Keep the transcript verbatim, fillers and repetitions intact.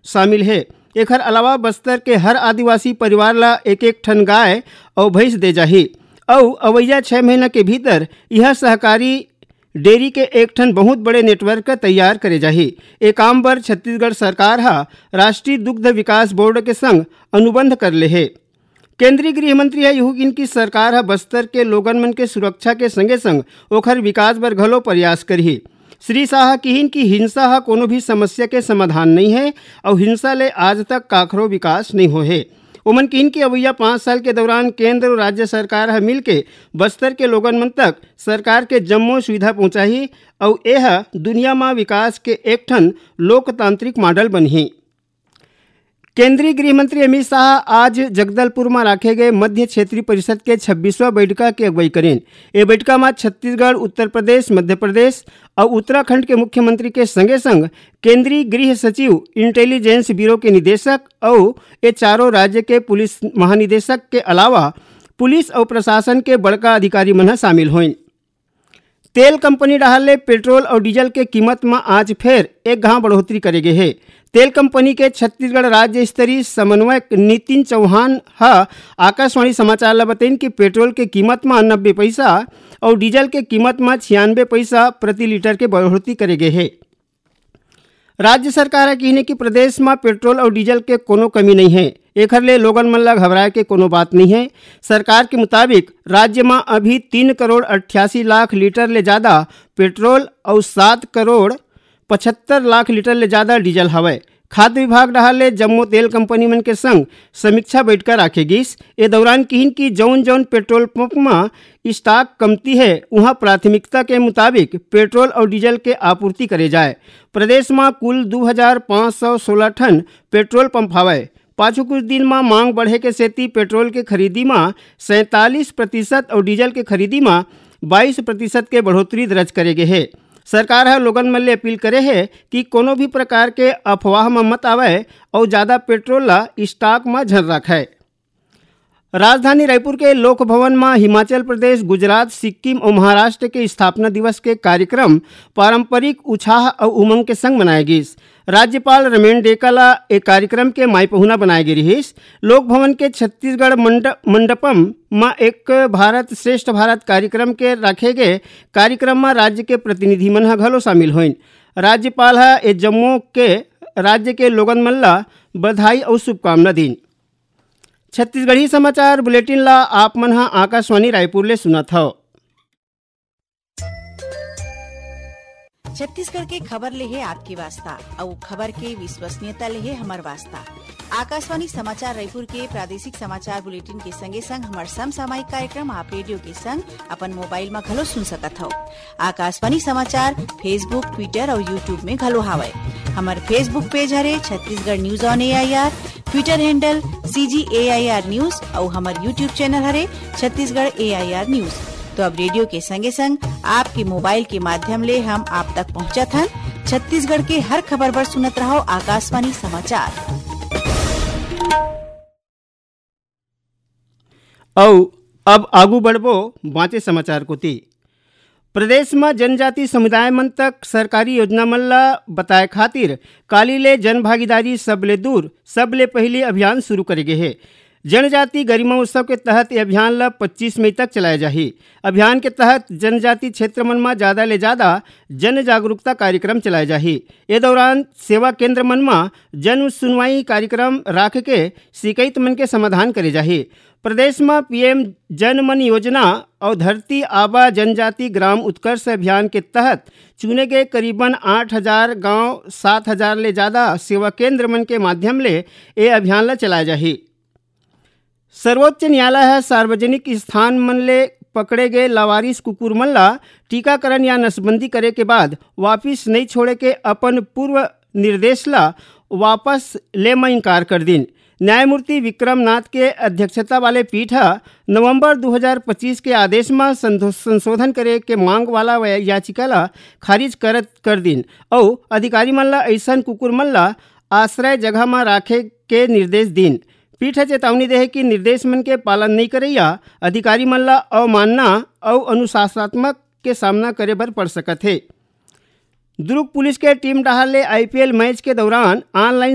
शामिल हे। एखर अलावा बस्तर के हर आदिवासी परिवार ला एक एक ठन गाय अउ भैंस दे जाही अउ अवइया छह महीना के भीतर यह सहकारी डेयरी के एक ठन बहुत बड़े नेटवर्क तैयार करे जाही। ए काम बर छत्तीसगढ़ सरकार ह राष्ट्रीय दुग्ध विकास बोर्ड के संग अनुबंध कर ले हे। केंद्रीय गृह मंत्री ह इहू किहिन कि सरकार ह बस्तर के लोगन मन के सुरक्षा के संगे संग ओखर विकास बर घलो प्रयास करही। श्री शाह किहिन कि हिंसा ह कोनो भी समस्या के समाधान नइ हे अउ हिंसा ले आज तक काखरो विकास नइ होए हे। ओमन किहिन कि अवइया पाँच साल के दौरान केंद्र अउ राज्य सरकार ह मिलके बस्तर के लोगन मन तक सरकार के जम्मो सुविधा पहुंचाही अउ एह दुनिया म विकास के एक ठन लोकतांत्रिक मॉडल बनही। केंद्रीय गृह मंत्री अमित शाह आज जगदलपुर म राखे गए मध्य क्षेत्रीय परिषद के छब्बीसवां बैठका के अगुवाई करेन। ए बैठका म छत्तीसगढ़, उत्तर प्रदेश, मध्य प्रदेश अउ उत्तराखंड के मुख्यमंत्री के संगे संग केंद्रीय गृह सचिव, इंटेलिजेंस ब्यूरो के निदेशक अउ ए चारों राज्य के पुलिस महानिदेशक के अलावा पुलिस अउ प्रशासन के बड़का अधिकारी मन ह शामिल होइन। तेल कंपनी डहार ले पेट्रोल अउ डीजल के कीमत म आज फेर एक घांव बढ़ोतरी करे गे हे। तेल कंपनी के छत्तीसगढ़ राज्य स्तरीय समन्वयक नितिन चौहान ह आकाशवाणी समाचार ल बतइन कि पेट्रोल के कीमत म नब्बे पइसा अउ डीजल के कीमत म छियानबे पइसा प्रति लीटर के बढ़ोतरी करे गे हे। राज्य सरकार ह किहिन हे कि प्रदेश म पेट्रोल अउ डीजल के कोनो कमी नइ हे, एखर ले लोगन मन ल घबराए के कोनो बात नइ हे। सरकार के मुताबिक राज्य म अभी तीन करोड़ अट्ठासी लाख लीटर ले जादा पेट्रोल अउ सात करोड़ पचहत्तर लाख लीटर ले जादा डीजल हवय। खाद्य विभाग डहार ले जम्मो तेल कंपनी मन के संग समीक्षा बैठका राखे गिस। ए दौरान किहिन कि जउन जउन पेट्रोल पंप म स्टॉक कमती हे, उहां प्राथमिकता के मुताबिक पेट्रोल अउ डीजल के आपूर्ति करे जाए। प्रदेश म कुल दू हजार पाँच सौ सोलह ठन पेट्रोल पंप हवय। पाछू कुछ दिन म मांग बढ़े के सेती पेट्रोल के खरीदी म सैंतालीस प्रतिशत अउ डीजल के खरीदी म बाईस प्रतिशत के बढ़ोतरी दर्ज करे गे हे। सरकार ह लोगन मन ले अपील करे हे कि कोनो भी प्रकार के अफवाह म मत आवय अउ जादा पेट्रोल ल स्टॉक म झन राखय। राजधानी रायपुर के लोक भवन म हिमाचल प्रदेश, गुजरात, सिक्किम अउ महाराष्ट्र के स्थापना दिवस के कार्यक्रम पारंपरिक उछाह अउ उमंग के संग मनाए गिस। राज्यपाल रमेन डेका ला ए कार्यक्रम के माई पहुना बनाए गे रिहिस। लोक भवन के छत्तीसगढ़ मंड-, मंडपम म एक भारत श्रेष्ठ भारत कार्यक्रम के राखे गे कार्यक्रम म राज्य के प्रतिनिधि मन ह घलो शामिल होइन। राज्यपाल ह ए जम्मो के राज्य के लोगन मन ला बधाई अउ शुभकामना दीन। छत्तीसगढ़ी समाचार बुलेटिन ला आप मन ह आकाशवाणी रायपुर ले सुनत हव। छत्तीसगढ़ के खबर ले हे आपके वास्ता, अउ खबर के विश्वसनीयता ले हे हमर वास्ता। आकाशवाणी समाचार रायपुर के प्रादेशिक समाचार बुलेटिन के संगे संग हमर समसामयिक कार्यक्रम आप रेडियो के संग अपन मोबाइल म घलो सुन सकत हव। आकाशवाणी समाचार Facebook, Twitter अउ YouTube में घलो हावय। हमर Facebook पेज हरे Chhattisgarh news on AIR, Twitter handle CG AIR news अउ हमर YouTube चैनल हरे छत्तीसगढ़ एआईआर न्यूज। तो अब रेडियो के संगे संग आपके मोबाइल के माध्यम ले हम आप तक पहुंचत हन। छत्तीसगढ़ के हर खबर बर सुनत रहव आकाशवाणी समाचार। अउ अब आगू बढ़बो बांचे समाचार कोति। प्रदेश म जनजाति समुदाय मन तक सरकारी योजना मन ल बताए खातिर काली ले जन भागीदारी सबले दूर, सबले पहिली अभियान शुरू करे गे हे। जनजाति गरिमा उत्सव के तहत ये अभियान ल पच्चीस मई तक चलाए जाही। अभियान के तहत जनजाति क्षेत्र मन म जादा ले जादा जन जागरूकता कार्यक्रम चलाए जाही। ए दौरान सेवा केंद्र मन म जन सुनवाई कार्यक्रम राख के शिकायत मन के समाधान करे जाही। प्रदेश म पीएम जन मन योजना अउ धरती आबा जनजाति ग्राम उत्कर्ष अभियान के तहत चुने गे करीबन आठ हजार गांव, सात हजार ले जादा सेवा केंद्र मन के माध्यम ले ए अभियान ल चलाए जाही। सर्वोच्च न्यायालय ह सार्वजनिक स्थान मन ले पकड़े गे लावारिस कुकुर मन ला टीकाकरण या नसबंदी करे के बाद वापिस नइ छोड़े के अपन पूर्व निर्देश ला वापस ले म इनकार कर दीन। न्यायमूर्ति विक्रमनाथ के अध्यक्षता वाले पीठ ह नवंबर दू हजार पच्चीस के आदेश म संधो-, संशोधन करे के मांग वाला वै-, याचिका ला खारिज करत कर दीन अउ अधिकारी मन ला अइसन कुकुर मन ला आश्रय जगह म राखे के निर्देश दीन। पीठ ह चेतावनी देहे कि निर्देश मन के पालन नइ करइया अधिकारी मन ला अवमानना अउ अनुशासनात्मक के सामना करे बर पड़ सकत हे। दुर्ग पुलिस के टीम डहार ले आईपीएल मैच के दौरान ऑनलाइन